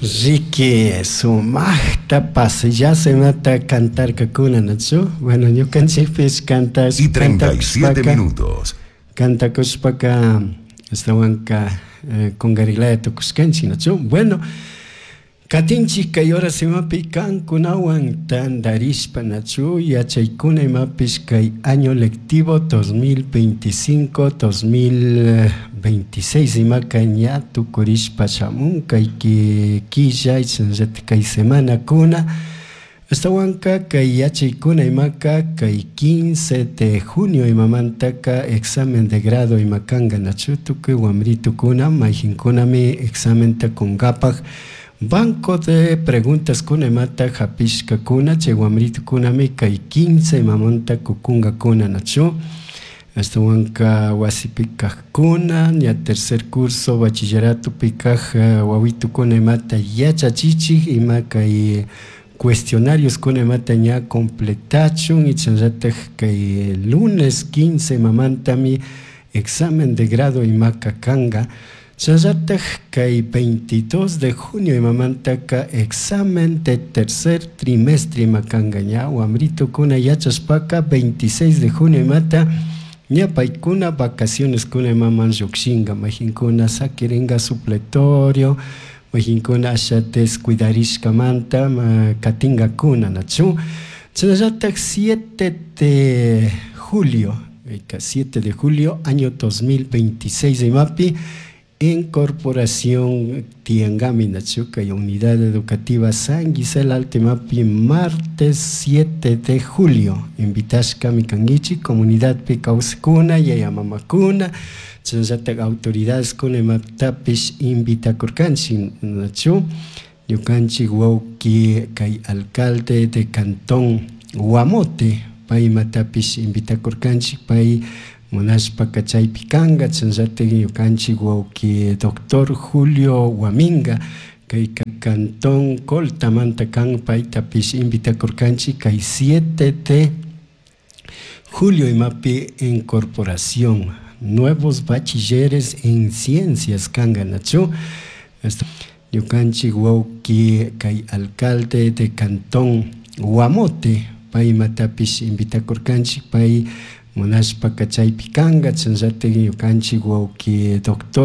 Ricky sumaqta pasillasa imata cantarkakuna, nachu? Bueno, ñukanchikpish cantash Y 37 cantakushpaka minutos. cantakushpaka ashtawanka kungarilaya tukushkanchik, nachu? Bueno, katinchik kay horas imapi kankunawan tandarishpa, nachu? Yachaykuna imapish kay año lectivo 2025 2026 imaka ña tukurishpa shamun kay killa shinallatik kay semanakuna. Ashtawanka kay yachaykuna imaka kay 15 de junio imamantaka examen de grado ima kanka, nachu? Tukuy wamritukuna mayjinkunami examenta kunkapak banco de preguntas kuna imata hapishkakuna, chay wamritukunami kay 15 imamanta kukunkakuna, nachu? Ashtawanka wasipi kajkuna ña tercer curso bachilleratopi kaj wawitukuna imata yachachichik ima kay cuestionarios kuna imata ña completachun, y chayllatak kay lunes 15 imamantami examen de grado imaka kanka. Chayllatak kay 22 de junio imamantaka examen de tercer trimestre ima kanka. Ña wamritukuna yachashpaka 26 de junio imata ña paykuna vacaciones kuna imaman llukshinka, mayjinkuna sakirinka supletorio, mayjinkuna asha descuidarishkamanta katinkakuna, nachu? Chayllatak 7 de julio, 7 de julio año 2026 imapi incorporación tiangami, nachu? Kay unidad educativa San Gisela Alto imapi martes 7 de julio invitashkami kankichik comunidadpi kawsakuna, yaya mamakuna, chayllatak autoridades kuna imatapish invitakurkanchik, nachu? Ñukanchik wawki kay alcalde de cantón Guamote pay imatapish invitakurkanchik, pay munashpaka chaypi kanka. Chayllatak ñukanchik wawki doctor Julio Guaminga kay cantón Coltamanta kan, paytapish invitakurkanchik kay 7 de julio imapi incorporación nuevos bachilleres en ciencias kanka, nachu? Ñukanchik wawki kay alcalde de cantón Guamote pay imatapish invitakurkanchik, pay munashpaka chaypi kanka. Chayllatak ñukanchik wawki doctor